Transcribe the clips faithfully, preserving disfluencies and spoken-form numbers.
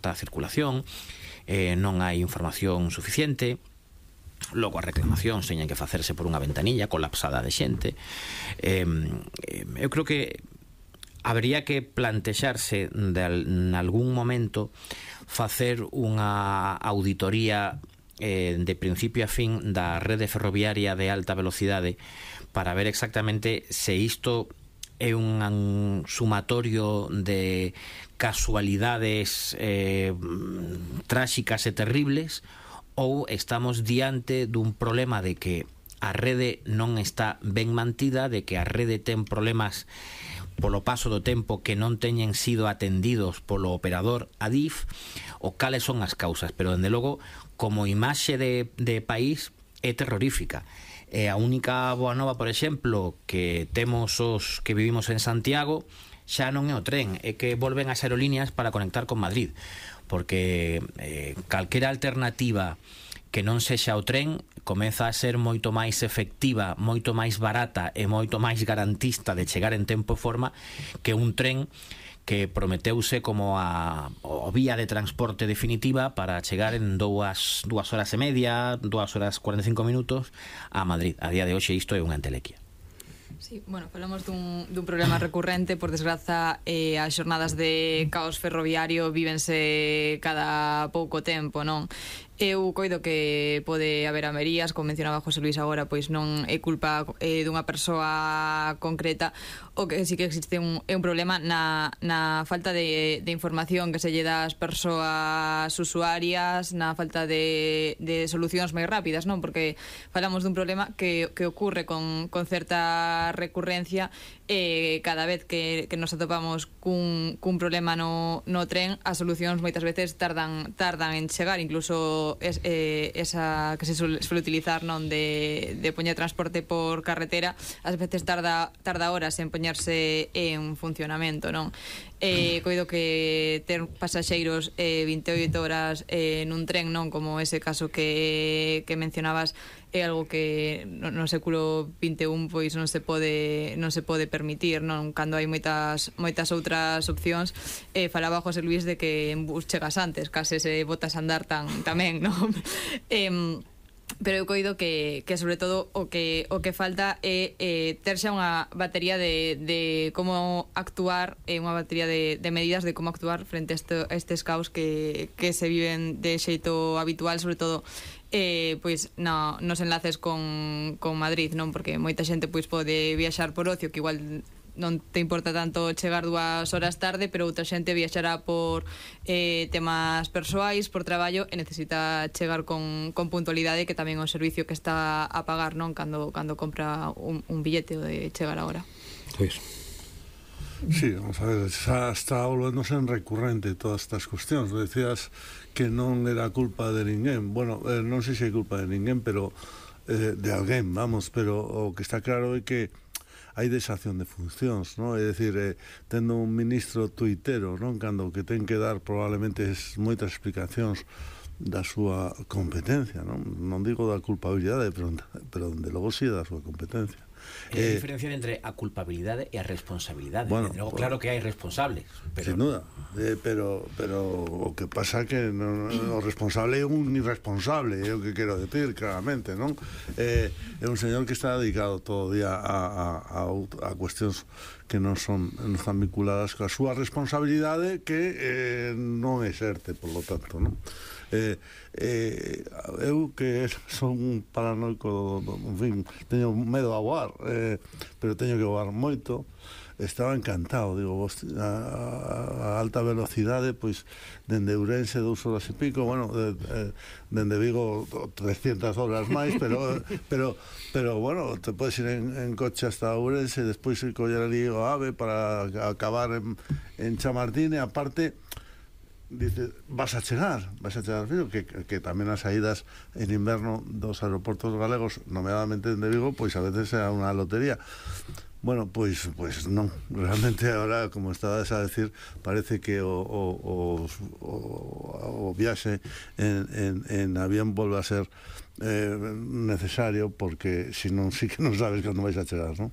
a circulación, eh, non hai información suficiente. Logo as reclamacións teñen que facerse por unha ventanilla colapsada de xente. eh, eu creo que habría que plantexarse de, en algún momento facer unha auditoría eh, de principio a fin da rede ferroviaria de alta velocidade para ver exactamente se isto é un sumatorio de casualidades eh, tráxicas e terribles, ou estamos diante dun problema de que a rede non está ben mantida, de que a rede ten problemas polo paso do tempo que non teñen sido atendidos polo operador Adif, ou cales son as causas. Pero, dende logo, como imaxe de, de país, é terrorífica. E a única boa nova, por exemplo, que temos os que vivimos en Santiago, xa non é o tren, é que volven as aerolíneas para conectar con Madrid, porque eh, calquera alternativa que non sexa o tren comeza a ser moito máis efectiva, moito máis barata e moito máis garantista de chegar en tempo e forma que un tren que prometeuse como a, a vía de transporte definitiva para chegar en dúas, dúas horas e media, dúas horas cuarenta e cinco minutos a Madrid. A día de hoxe isto é unha entelequia. Sí, bueno, falamos dun, dun problema recurrente. Por desgraza, eh, as xornadas de caos ferroviario vívense cada pouco tempo, non? Eu coido que pode haber averías, como mencionaba José Luis agora, pois non é culpa eh, dunha persoa concreta. O que sí que existe un, é un problema na, na falta de, de información que se lle dá ás persoas usuarias, na falta de, de solucións máis rápidas, non? Porque falamos dun problema que, que ocurre con, con certa recurrencia. Eh, cada vez que, que nos atopamos cun, cun problema no, no tren, as solucións moitas veces tardan, tardan en chegar. Incluso Es, eh, esa que se suele, suele utilizar, non, de, de poñer transporte por carretera, ás veces tarda, tarda horas en poñerse en funcionamento, non? Eh, coido que ter pasaxeiros eh, vinte e oito horas eh, nun tren, non, como ese caso que, que mencionabas, é algo que no, no século vinte e un pois non se pode non se pode permitir, non? Cando hai moitas moitas outras opcións. Eh, falaba José Luis de que en bus chegas antes, case se botas a andar tan tamén, non? eh, pero eu coido que, que sobre todo o que o que falta é eh, ter xa unha batería de, de como actuar, eh, unha batería de, de medidas de como actuar frente a, este, a estes caos que, que se viven de xeito habitual, sobre todo eh, pois no, nos enlaces con, con Madrid, non? Porque moita xente pois pode viaxar por ocio, que igual non te importa tanto chegar dúas horas tarde, pero outra xente viaxará por eh, temas persoais, por traballo, e necesita chegar con, con puntualidade, que tamén é un servicio que está a pagar, non? Cando, cando compra un, un billete de chegar a hora. Pois sí, vamos a ver, xa está volvéndose en recurrente todas estas cuestións. Decías que non era culpa de ninguén. Bueno, eh, non sei se é culpa de ninguén, pero eh, de alguén, vamos, pero o que está claro é que hai desacción de funcións, non? É dicir, eh, tendo un ministro tuitero, non? Cando que ten que dar probablemente es, moitas explicacións da súa competencia, non? Non digo da culpabilidade, pero, pero de logo si sí da súa competencia. É a eh, diferencia entre a culpabilidade e a responsabilidade. Bueno, logo, pues, claro que hai responsables, pero... sin duda, eh, pero, pero o que pasa que no, no, o responsable é un irresponsable, é o que quero decir claramente, non? Eh, é un señor que está dedicado todo o día a, a, a, a cuestións que non son non están vinculadas coa súa responsabilidade, que eh, non exerte, por lo tanto, non? Eh, eh, eu que son un paranoico, en fin, teño medo a voar, eh, pero teño que voar moito. Estaba encantado, digo, vos, a, a alta velocidade, pois dende Ourense dous horas e pico, bueno, de, de, dende Vigo trescientas horas máis, pero pero pero bueno, te podes ir en, en coche hasta Ourense e despois coller ali o AVE para acabar en, en Chamartín, e aparte dice, vas a chegar, vas a chegar frío, que, que tamén as saídas en inverno dos aeroportos galegos, nomeadamente de Vigo, pois a veces é unha lotería. Bueno, pois, pois non, realmente agora, como estabas a decir, parece que o, o, o, o viaxe en, en, en avión volve a ser eh, necesario, porque si non, sí que non sabes cando vais a chegar, non?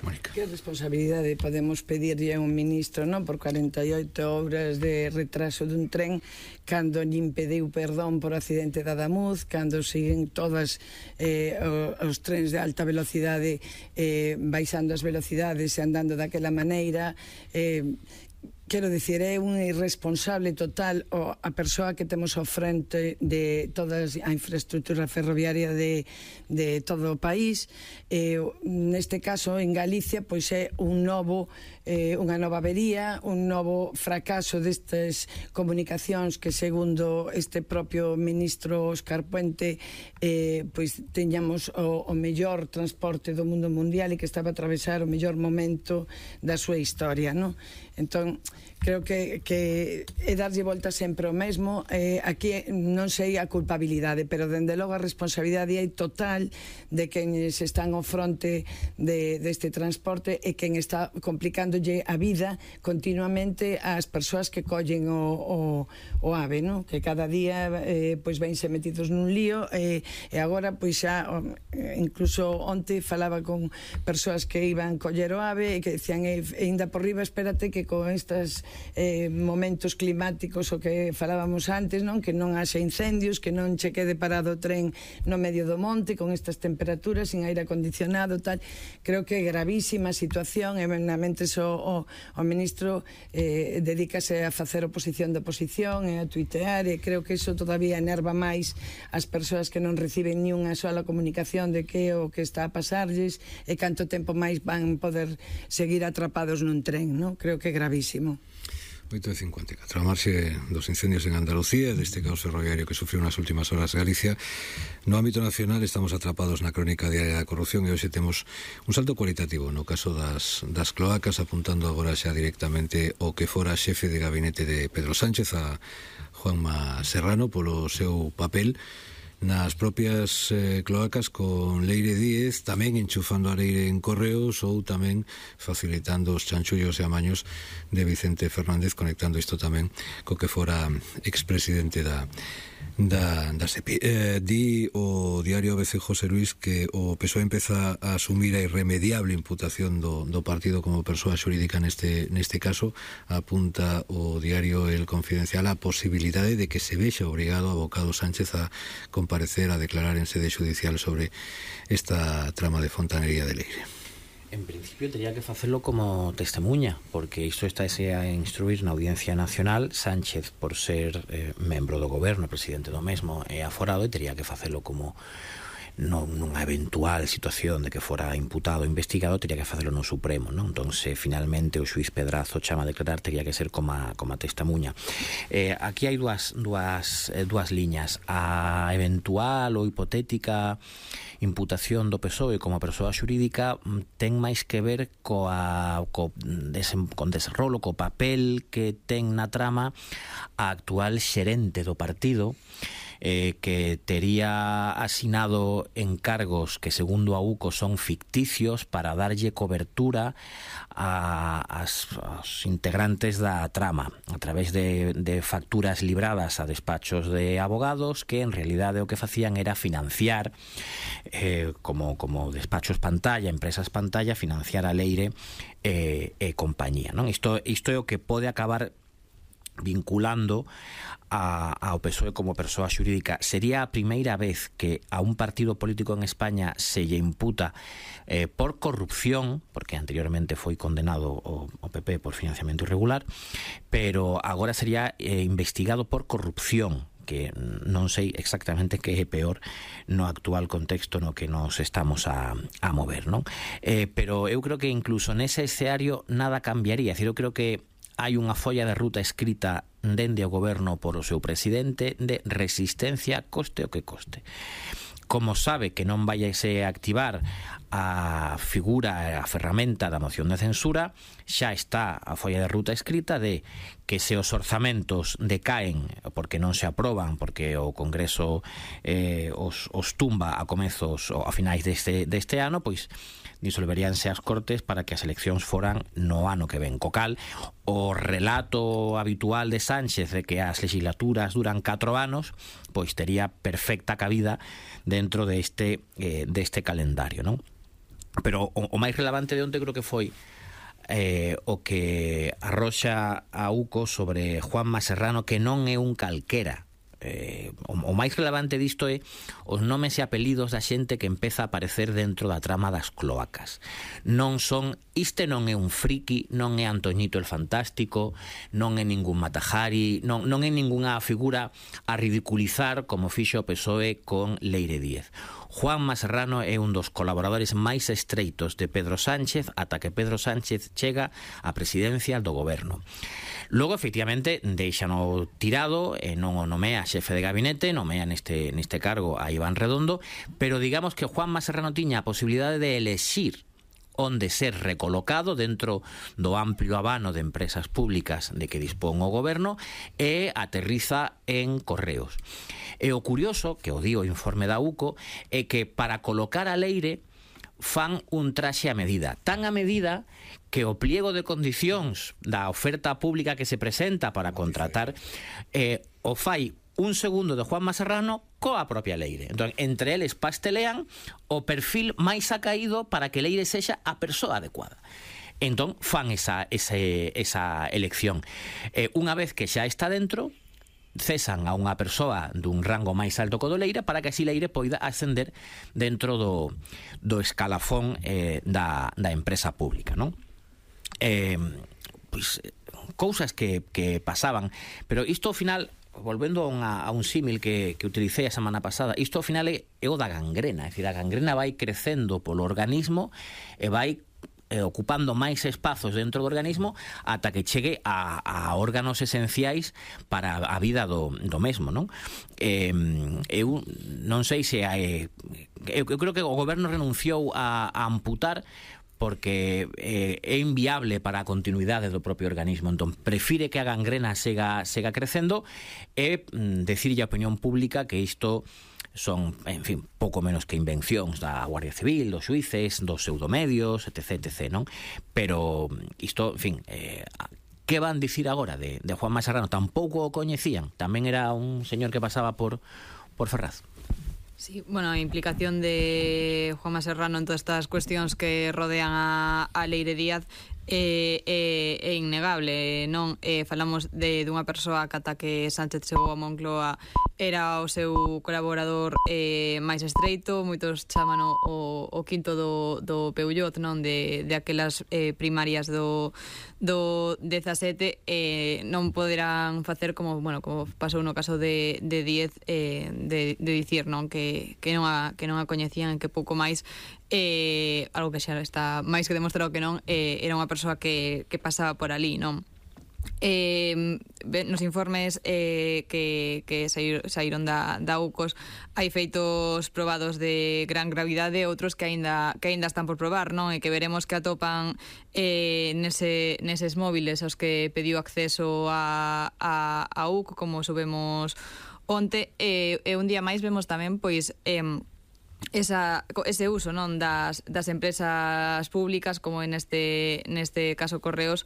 Mónica. Que responsabilidade podemos pedirlle a un ministro, non, por cuarenta e oito horas de retraso dun tren, cando lle impediu perdón por accidente da Adamuz, cando siguen todas eh, os trens de alta velocidade eh, baixando as velocidades e andando daquela maneira. eh, Quero dicir, é un irresponsable total o, a persoa que temos ao frente de toda a infraestructura ferroviaria de, de todo o país. Eh, neste caso, en Galicia, pois é un novo, eh, unha nova avería, un novo fracaso destas comunicacións que, segundo este propio ministro Óscar Puente, eh, pois teñamos o, o mellor transporte do mundo mundial e que estaba a atravesar o mellor momento da súa historia, non? Entón, creo que, que é darlle volta sempre o mesmo. Eh, aquí non sei a culpabilidade, pero dende logo a responsabilidade é total de quen se están ao fronte de, deste transporte e quen está complicándolle a vida continuamente ás persoas que collen o, o, o AVE, no? Que cada día eh, pois vense metidos nun lío e, e agora pois xa incluso onte falaba con persoas que iban coller o AVE e que decían, e, e ainda por riba espérate que con estes eh, momentos climáticos o que falábamos antes, non, que non haxa incendios, que non che quede parado o tren no medio do monte con estas temperaturas, sin aire acondicionado, tal. Creo que é gravísima a situación e menamente o, o, o ministro eh, dedícase a facer oposición de oposición e a tuitear, e creo que iso todavía enerva máis as persoas que non reciben ni unha sola comunicación de que o que está a pasarlles e canto tempo máis van poder seguir atrapados nun tren, non? Creo que é gravísimo. oito e cincuenta e catro. A marxe dos incendios en Andalucía, deste caos ferroviario que sufriu nas últimas horas Galicia, no ámbito nacional estamos atrapados na crónica diaria da corrupción e hoxe temos un salto cualitativo no caso das, das cloacas, apuntando agora xa directamente o que fora xefe de gabinete de Pedro Sánchez, a Juanma Serrano, polo seu papel nas propias eh, cloacas con Leire Díez, tamén enchufando a Leire en correos ou tamén facilitando os chanchullos e amaños de Vicente Fernández, conectando isto tamén co que fora expresidente da da, da SEPI. Eh, di o diario A B C José Luis que o P S O E empeza a asumir a irremediable imputación do, do partido como persoa xurídica neste, neste caso. Apunta o diario El Confidencial a posibilidade de que se vexa obrigado a Abocado Sánchez a comparecer, a declarar en sede judicial sobre esta trama de fontanería de Leire. En principio tendría que facelo como testemunha, porque isto está a instruir na Audiencia Nacional. Sánchez, por ser eh, membro do goberno, presidente do mesmo, é aforado e teria que facelo como non, nunha eventual situación de que fora imputado, investigado, teria que facelo no Supremo, non? Entón, se finalmente o xuiz Pedrazo chama a declarar, teria que ser como a, como a testemunha. Eh, aquí hai dúas, dúas, eh, dúas liñas. A eventual ou hipotética imputación do P S O E como persoa xurídica ten máis que ver coa, co desen, con desenrolo, co papel que ten na trama a actual xerente do partido, eh, que tería asinado encargos que, segundo a U C O, son ficticios para darlle cobertura a, as, aos integrantes da trama a través de, de facturas libradas a despachos de abogados que en realidade o que facían era financiar eh, como, como despachos pantalla, empresas pantalla, financiar a Leire e eh, eh, compañía, non? Isto, isto é o que pode acabar vinculando a, ao P S O E como persoa xurídica. Sería a primeira vez que a un partido político en España se lle imputa eh, por corrupción, porque anteriormente foi condenado o, o P P por financiamento irregular, pero agora sería eh, investigado por corrupción, que non sei exactamente que é peor no actual contexto no que nos estamos a, a mover, non? Eh, pero eu creo que incluso nese escenario nada cambiaría. É dicir, eu creo que hai unha folla de ruta escrita dende o goberno por o seu presidente de resistencia, coste o que coste. Como sabe que non vai a activar a figura, a ferramenta da moción de censura, xa está a folla de ruta escrita de que se os orzamentos decaen porque non se aproban, porque o Congreso eh, os, os tumba a comezos ou a finais deste, deste ano, pois disolveríanse as Cortes para que as eleccións foran no ano que ven. Co cal, o relato habitual de Sánchez de que as legislaturas duran catro anos, pois tería perfecta cabida dentro deste, eh, deste calendario, non? pero o, o máis relevante de onte creo que foi eh, o que arroxa a UCO sobre Juanma Serrano, que non é un calquera. Eh, o, o máis relevante disto é os nomes e apelidos da xente que empeza a aparecer dentro da trama das cloacas. Non son, este non é un friki, non é Antoñito el Fantástico, non é ningún Matajari, non, non é ningunha figura a ridiculizar como fixo o P S O E con Leire Díez. Juanma Serrano é un dos colaboradores máis estreitos de Pedro Sánchez ata que Pedro Sánchez chega á presidencia do goberno. Logo, efectivamente, deixano tirado e non o nomea xefe de gabinete, nomea neste, neste cargo a Iván Redondo, pero digamos que Juanma Serrano tiña a posibilidade de elexir onde ser recolocado dentro do amplio abano de empresas públicas de que dispón o goberno e aterriza en Correos. E o curioso, que o di o informe da UCO, é que para colocar a Leire fan un traxe a medida, tan a medida que o pliego de condicións da oferta pública que se presenta para contratar eh, o fai un segundo de Juanma Serrano coa propia Leire. Entón, entre eles pastelean o perfil máis acaído para que Leire sexa a persoa adecuada. Entón, fan esa, esa, esa elección. Eh, unha vez que xa está dentro, cesan a unha persoa dun rango máis alto que o do Leire para que así Leire poida ascender dentro do, do escalafón eh, da, da empresa pública, non? Eh, pois, cousas que, que pasaban, pero isto ao final, volvendo a, unha, a un símil que, que utilicei a semana pasada, isto ao final é, é o da gangrena, é dicir, a gangrena vai crecendo polo organismo e vai eh, ocupando máis espazos dentro do organismo ata que chegue a, a órganos esenciais para a vida do, do mesmo, non? Eh, eu non sei se hai, eu, eu creo que o goberno renunciou a, a amputar porque eh, é inviable para a continuidade do propio organismo. Entón, prefire que a gangrena sega, sega crecendo e mm, decirlle a opinión pública que isto son, en fin, pouco menos que invencións da Guardia Civil, dos xuíces, dos pseudomedios, etc, etc, non? Pero isto, en fin, eh, que van dicir agora de, de Juanma Serrano? Tampouco o coñecían, tamén era un señor que pasaba por, por Ferraz. Sí, bueno, a implicación de Juanma Serrano en todas estas cuestións que rodean a, a Leire Díaz é, é, é innegable, non? Eh, falamos de dunha persoa que ata que Sánchez chegou a Moncloa era o seu colaborador eh, máis estreito, moitos chaman o, o quinto do, do Peullot, non? De, de aquelas eh, primarias do, do dezasete, eh, non poderán facer como, bueno, como pasou no caso de, de Díez, eh, de, de dicir, non? Que, que, non a, que non a coñecían, que pouco máis, eh, algo que xa está máis que demostrado que non, eh, era unha persoa que, que pasaba por ali, non? Eh, nos informes eh, que, que saíron da, da UCOS hai feitos probados de gran gravidade, outros que aínda que aínda están por probar, non? E que veremos que atopan eh, nese, neses móviles aos que pediu acceso a, a, a U C, como subemos onte, e, e un día máis vemos tamén pois eh, esa, ese uso, non, das, das empresas públicas, como en este, neste caso Correos,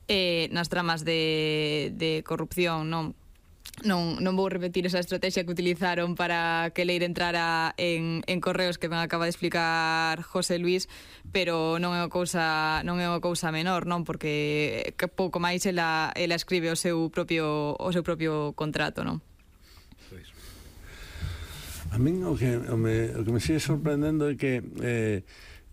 eh, nas tramas de, de corrupción, non? Non, non vou repetir esa estrategia que utilizaron para que Leire entrara en, en Correos, que me acaba de explicar José Luis, pero non é unha cousa, non é unha cousa menor, non? Porque que pouco máis ela, ela escribe o seu propio, o seu propio contrato, non? A min o que, o me, o que me sigue sorprendendo é que eh,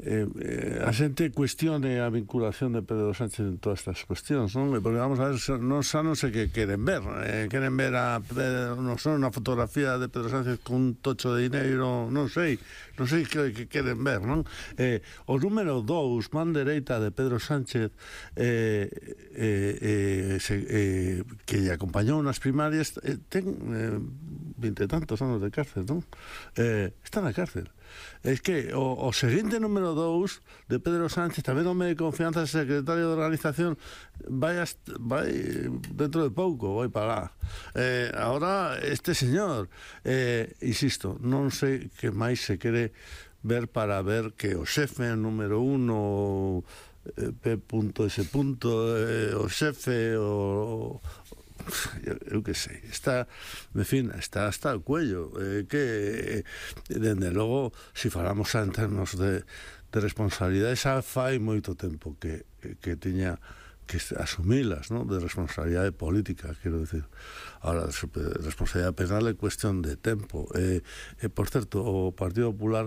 eh, eh, a xente cuestione a vinculación de Pedro Sánchez en todas estas cuestións, non? Porque vamos a ver, non xa non sei que queren ver, eh, queren ver a Pedro, non sei, unha fotografía de Pedro Sánchez con un tocho de dinheiro, non sei, non sei que, que queren ver, non? Eh, o número dous, man dereita de Pedro Sánchez, eh, eh, eh, se, eh, que lle acompañou nas primarias, eh, ten eh, vinte e tantos anos de cárcel, non? Eh, está na cárcel. É que o, o seguinte número dous de Pedro Sánchez, tamén home de confianza, secretario de organización, vai, hasta, vai dentro de pouco, vai para lá. Eh, ahora este señor, eh, insisto, non sei que máis se quere ver para ver que o xefe número uno, eh, P. S. Eh, o xefe, o eu que sei, está, en fin, está hasta o cuello, eh, que, dende logo, se falamos en termos de, de responsabilidade xa fai moito tempo que, que tiña que asumilas, ¿no? De responsabilidade política, quero decir. Ahora, responsabilidade penal é cuestión de tempo. E, e por certo, o Partido Popular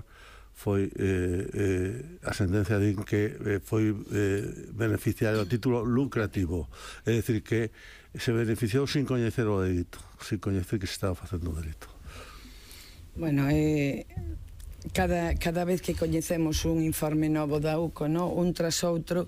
foi eh, eh, a sentencia din que eh, foi eh, beneficiario a título lucrativo, é dicir que se beneficiou sin coñecer o delito, sin coñecer que se estaba facendo o delito. Bueno, eh, cada, cada vez que coñecemos un informe novo da U C O, no? Un tras outro,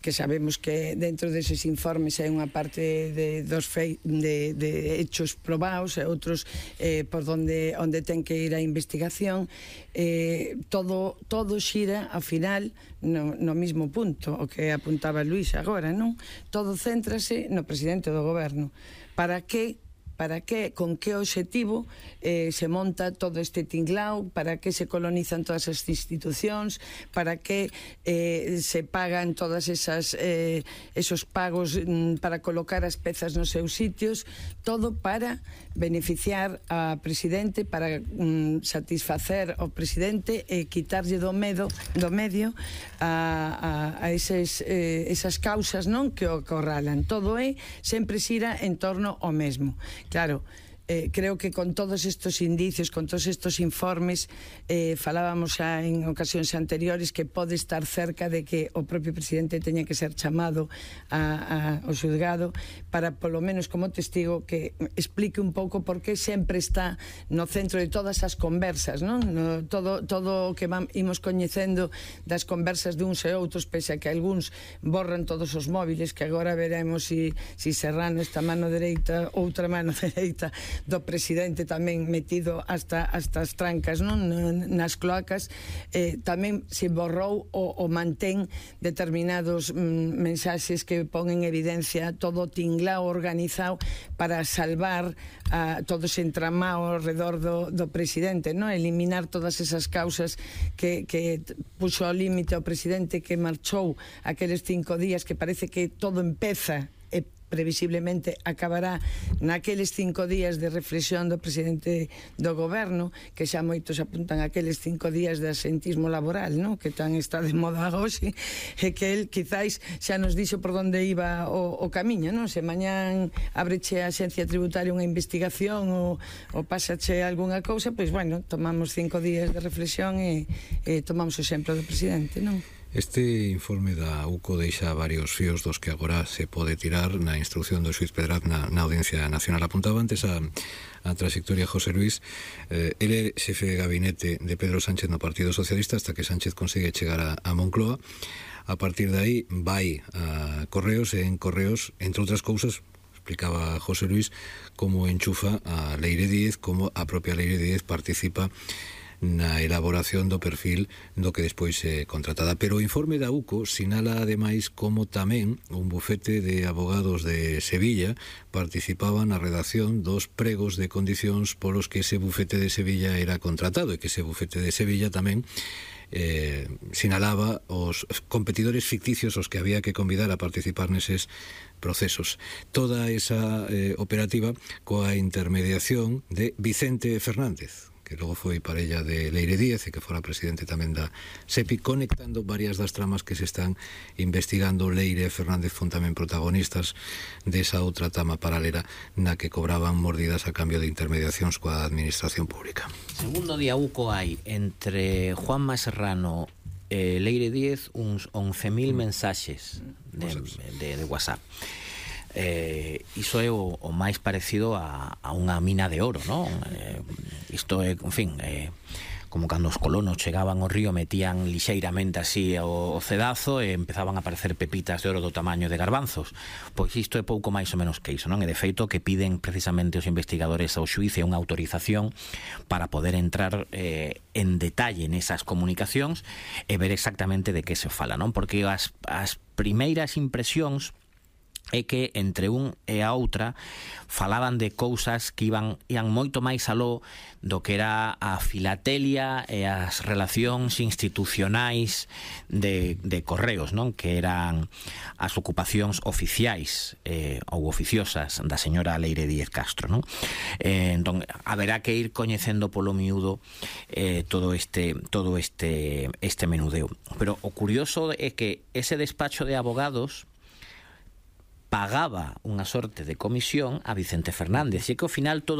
que sabemos que dentro deses informes hai unha parte de, dos fei, de, de hechos probados e outros eh, por onde, onde ten que ir a investigación, eh, todo, todo xira ao final no, no mismo punto, o que apuntaba Luís agora, non? Todo céntrase no presidente do goberno. Para que para que, con que obxectivo eh, se monta todo este tinglao, para que se colonizan todas as institucións, para que eh, se pagan todas esas eh, esos pagos mm, para colocar as pezas nos seus sitios, todo para beneficiar a presidente, para mm, satisfacer ao presidente e quitarlle do medo do medio a, a, a eses, eh, esas causas, non, que o corralan. Todo é sempre xira en torno ao mesmo. Claro, eh, creo que con todos estos indicios, con todos estos informes, eh, falábamos xa en ocasións anteriores que pode estar cerca de que o propio presidente teña que ser chamado a, a, ao xulgado para, polo menos como testigo, que explique un pouco por que sempre está no centro de todas as conversas, non? No, todo, todo o que vam, imos coñecendo das conversas de uns e outros, pese a que algúns borran todos os móviles, que agora veremos si, si Serrano esta mano dereita, outra mano dereita do presidente tamén metido hasta, hasta as trancas, non? Nas cloacas, eh, tamén se borrou o, o mantén determinados mm, mensaxes que pon en evidencia todo o tinglao organizado para salvar a todo ese entramado ao redor do, do presidente, non? Eliminar todas esas causas que, que puxo ao límite ao presidente, que marchou aqueles cinco días, que parece que todo empeza e previsiblemente acabará naqueles cinco días de reflexión do presidente do goberno, que xa moitos apuntan aqueles cinco días de asentismo laboral, no? Que tan está de moda hoxe, e que el quizáis xa nos dixo por onde iba o, o camiño, non? Se mañán abreche a Axencia Tributaria unha investigación ou, ou pásache algunha cousa, pois bueno, tomamos cinco días de reflexión e, e tomamos o exemplo do presidente, non? Este informe da U C O deixa varios fíos dos que agora se pode tirar na instrucción do xuiz Pedraz na, na Audiencia Nacional. Apuntaba antes a, a trayectoria José Luis. Eh, ele é xefe de gabinete de Pedro Sánchez no Partido Socialista hasta que Sánchez consigue chegar a, a Moncloa. A partir de aí vai a Correos, e en Correos, entre outras cousas, explicaba José Luis, como enchufa a Leire Díez, como a propia Leire Díez participa na elaboración do perfil do que despois é contratada. Pero o informe da U C O sinala ademais como tamén un bufete de abogados de Sevilla participaba na redacción dos pregos de condicións polos que ese bufete de Sevilla era contratado, e que ese bufete de Sevilla tamén eh, sinalaba os competidores ficticios os que había que convidar a participar neses procesos. Toda esa eh, operativa coa intermediación de Vicente Fernández, que logo foi parella de Leire Díez e que fora presidente tamén da SEPI, conectando varias das tramas que se están investigando. Leire e Fernández fon tamén protagonistas desa outra trama paralela na que cobraban mordidas a cambio de intermediacións coa administración pública. Segundo día U C O hai entre Juanma Serrano e Leire Díez uns once mil mensaxes de, de, de WhatsApp. Eh, iso é o, o máis parecido a, a unha mina de oro, non? Eh, isto é, en fin, eh, como cando os colonos chegaban ao río, metían lixeiramente así o, o cedazo e empezaban a aparecer pepitas de oro do tamaño de garbanzos. Pois isto é pouco máis ou menos que iso, non? E de feito que piden precisamente os investigadores ao xuíz unha autorización para poder entrar eh, en detalle nesas comunicacións e ver exactamente de que se fala, non? Porque as, as primeiras impresións é que entre un e a outra falaban de cousas que iban ian moito máis aló do que era a filatelia e as relacións institucionais de, de Correos, non? Que eran as ocupacións oficiais eh, ou oficiosas da señora Leire Díez Castro, non? Eh, entón, haberá que ir coñecendo polo miúdo eh, todo este todo este este menudeo. Pero o curioso é que ese despacho de abogados pagaba unha sorte de comisión a Vicente Fernández, e que ao final todo